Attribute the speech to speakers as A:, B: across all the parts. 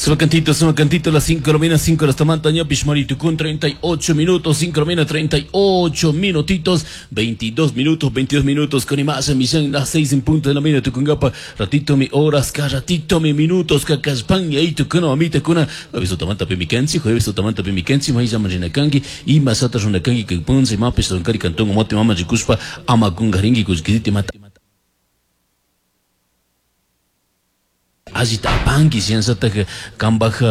A: Suma cantito, suma cantito, las 5 de la mañana, 5 de la mañana, Pishmarito con 38 minutos, 5 de la mañana, 38 minutitos, 22 minutos, 22 minutos, con más emisión, las 6 en punto de la mañana, tucungapa, ratito mi horas, ka ratito mi minutos, ka kaspan, y ahí tucuna, mamita, cuna, jueves otamanta pimikensi, jueves otamanta pimikensi, maíz llama rinakangui, y masata runakangui, que punce, mapes, roncari, cantón, mote, mama, rikuspa, ama kungaringi, kuskiditi, mata. Allita apanki shinashatak kanpak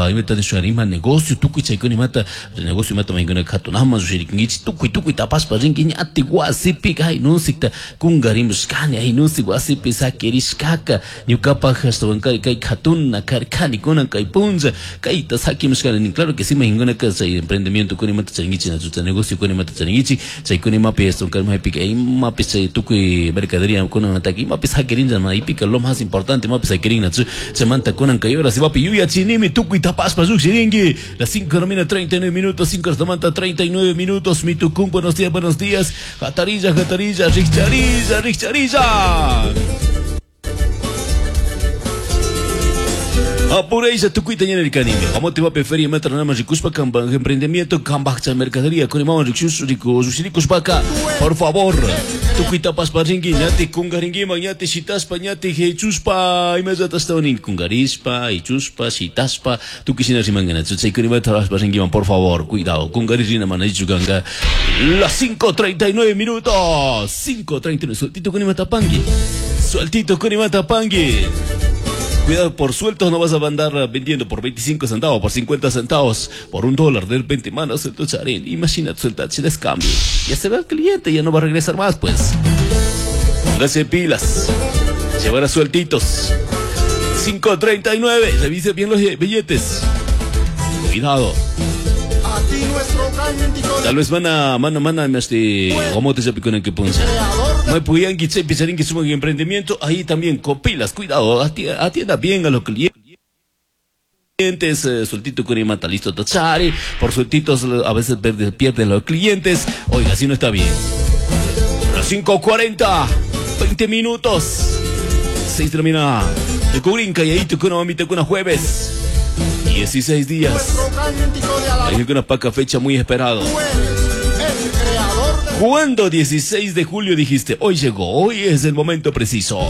A: imata nishun ima negocio tukuy chaykuna imata negocio imata maykuna katunaman llushirikunkichik tukuy tukuy tapashpa rinki ñatik wasipika ay nunsikta kunkarimushkani ay nunsik wasipi sakirishkaka ñukapak ashtawankari kay katuna karkani kunan kay punlla kayta sakimushkani nin claro que sí maykunaka chay emprendimiento kuna imata charinkichik nachu chay negocio kuna imata charinkichik chaykuna imapi ashtawankari maypika imapi chay tukuy mercadería kunamantaka imapi sakirinlla maypika lo más importante imapi sakirin nachu chaymanta kunan kay horas imapi yuyachinimi tukuy tapashpa llukshirinki las 5 de la mañana 39 minutos 5 de la mañana 39 minutos mi tucum buenos días buenos días. Jatarilla jatarilla richarilla richarilla Apureisa tukuyta ñanirkanimi. Amote va feria matra nama rikuspa kamba emprendimiento kamba chay mercadería con imama rikush riku rikuspa por favor. Tukuyta paspa rinki ñati kungarinkiman ñati shitaspa ñati hechuspa imallata ashtawan kungarispa hichuspa shitaspa tukuy shina rimankanachu chaykunimata raspa rinkiman por favor cuidado kungaririna mana ichu kanka las 5:39 minutos 5:39 sueltito kunimata panki sueltito kunimata panki. Cuidado, por sueltos no vas a andar vendiendo por 25 centavos, por 50 centavos, por $1. De repente, mano, suelto charín. Imagínate, suelta, si descambio. Ya se va el cliente, ya no va a regresar más, pues. Póngase pilas. Llevar a sueltitos. 5:39. Revise bien los billetes. Cuidado. Tal vez van a, este, ¿cómo te en que punza? No puyan que picharín que suman emprendimiento, ahí también copilas, cuidado, atienda bien a los clientes, sueltito con mata listo tachari, por sueltitos a veces pierden los clientes, oiga, así no está bien. Las 5:40, 20 minutos, 6 de la mañana, de Cubrinca y ahí te con mamita con jueves. 16 días. Hay una paca fecha muy esperado. ¿Cuándo 16 de julio dijiste? Hoy llegó, hoy es el momento preciso.